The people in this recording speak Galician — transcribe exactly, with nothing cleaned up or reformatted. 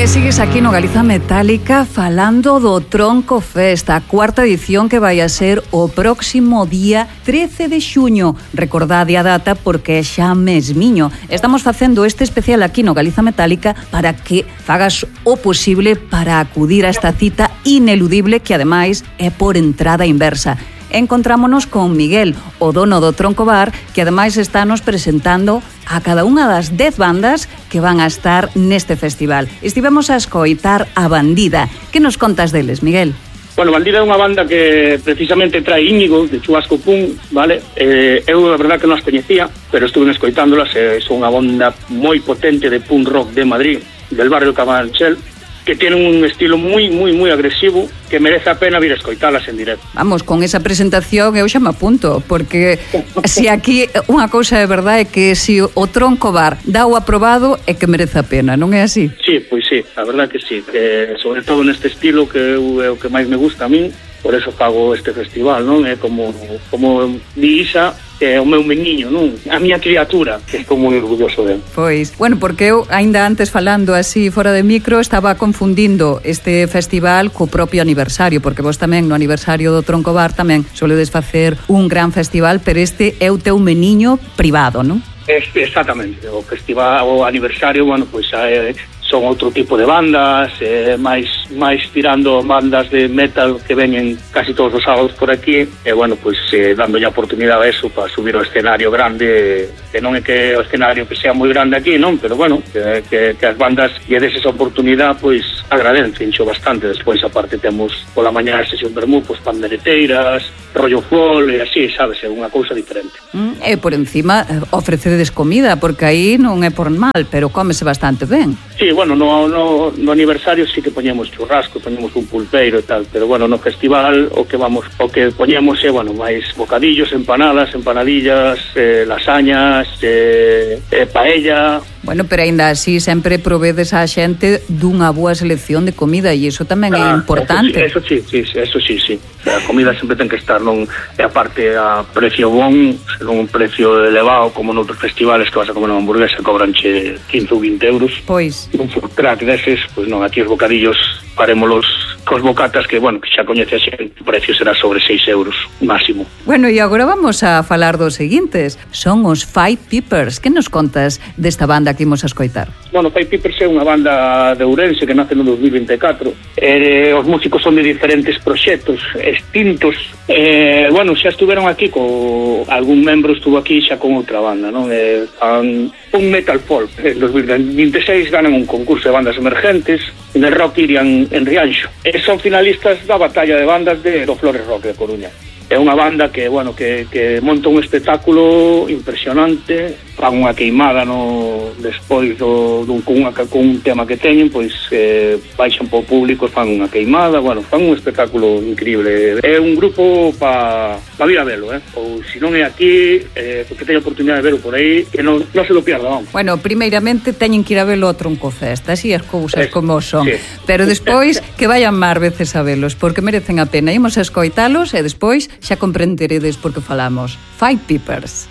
E sigues aquí no Galiza Metálica falando do Tronco Fest, a cuarta edición que vai a ser o próximo día trece de xuño. Recordade a data porque é xa mesmiño. Estamos facendo este especial aquí no Galiza Metálica para que fagas o posible para acudir a esta cita ineludible que ademais é por entrada inversa. Encontrámonos con Miguel, o dono do Tronco Bar, que ademais está nos presentando a cada unha das dez bandas que van a estar neste festival. Estivemos a escoitar a Bandida. Que nos contas deles, Miguel? Bueno, Bandida é unha banda que precisamente trae Íñigo, de Chubasco Punk, vale? Eh, eu, a verdad, que non as coñecía, pero estuve escoitándolas, eh, son unha banda moi potente de punk rock de Madrid, del barrio Carabanchel, que tiene un estilo moi, moi, moi agresivo, que merece a pena vir a escoitalas en directo. Vamos, con esa presentación eu xa me apunto, porque se aquí unha cousa é verdade é que se o Tronco Bar dá o aprobado é que merece a pena, non é así? Sí, pois sí, a verdad que sí, que sobre todo neste estilo que é o que máis me gusta a min, por eso fago este festival, non? É como, como di Isa, que é o meu meniño, non? A miña criatura, que estou moi orgulloso dele. Pois, bueno, porque eu, ainda antes falando así fora de micro, estaba confundindo este festival co propio aniversario, porque vos tamén no aniversario do Tronco Bar tamén soledes facer un gran festival, pero este é o teu meniño privado, non? Exactamente, o festival, o aniversario, bueno, pois é... son outro tipo de bandas, eh, máis máis tirando bandas de metal que veñen casi todos os sábados por aquí, e bueno, pois eh, dando a oportunidade a eso para subir ao escenario grande, que non é que o escenario que sea moi grande aquí, non, pero bueno, que, que, que as bandas lle des esa oportunidade, pois agradecenxo bastante. Despois aparte temos pola mañá a sesión vermú, pois pandereteiras, rollo folk e así, sabes, é unha cousa diferente. Mm, e por encima ofrecedes comida, porque aí non é por mal, pero cómese bastante ben. Sí, bueno, no, no, no aniversario sí que poñemos churrasco, poñemos un pulpeiro e tal, pero bueno, no festival o que vamos, o que poñemos é, bueno, máis bocadillos, empanadas, empanadillas, eh, lasañas, eh, eh, paella. Bueno, pero aínda así sempre provedes a xente dunha boa selección de comida e iso tamén ah, é importante. Eso sí, eso sí, sí, eso sí, sí. A comida sempre ten que estar, non é aparte a precio bon, non un precio elevado como noutros festivales que vas a comer unha hamburguesa cobranche quince ou vinte euros. Pois. Un food truck deses, pois non, aquí os bocadillos parémolos cos bocatas que, bueno, que xa coñece a xente, o precio será sobre seis euros máximo. Bueno, e agora vamos a falar dos seguintes. Son os Five Peppers. Que nos contas desta banda que imos a escoitar? Bueno, Five Peppers é unha banda de Ourense que nace no dos mil vinte e catro. Eh, os músicos son de diferentes proxectos extintos. Eh, bueno, xa estuveron aquí co... algún membro estuvo aquí xa con outra banda, non? Eh, fan un metal folk. En dos mil vinte e seis ganan un concurso de bandas emergentes en el Rock Irian en Rianxo. E son finalistas da batalla de bandas de do Flores Rock de Coruña. É unha banda que, bueno, que, que monta un espectáculo impresionante, fan unha queimada no despois do, do con, unha, con un tema que teñen, pois eh, baixan para o público, fan unha queimada, bueno, fan un espectáculo increíble. É un grupo para pa vir a velo, eh? Ou se non é aquí, eh, porque teño a oportunidade de verlo por aí, que non, non se lo pierda, vamos. Bueno, primeiramente teñen que ir a velo ao Tronco Fest, así as cousas Eso, como son. sí. Pero despois que vayan máis veces a velos, porque merecen a pena. Imos a escoitalos e despois xa comprenderedes por que falamos. Five Peppers.